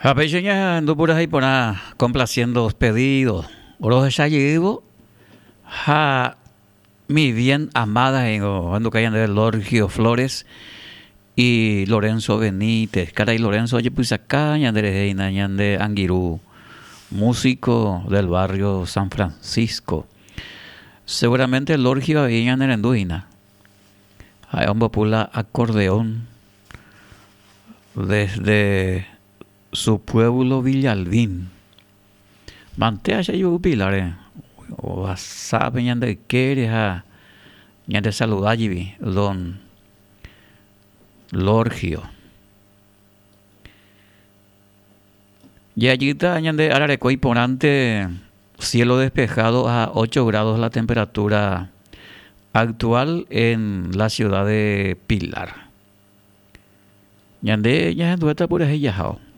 Ha péicha ñahendu purahéi porã complaciendo pedido rohecha jeývo ha mi bien amada he'ingo ohenduka ñandéve Lorgio Flores y Lorenzo Benítez. Karai Lorenzo ojepysaka ñande rehe hína ñande angirũ músico del barrio San Francisco. Seguramente Lorgio avei ñanerendu hína. Ha'e ombopu la acordeón desde su pueblo Villalbín. Mantéa che ayvu Pilar-re, ohasápe ñande ykére ha ñande saluda jepi don Lorgio. Jajýta ñande ára reko iporãnte cielo despejado a 8 grados la temperatura actual en la ciudad de Pilar. Ñande ñahenduéta purahéi jahao.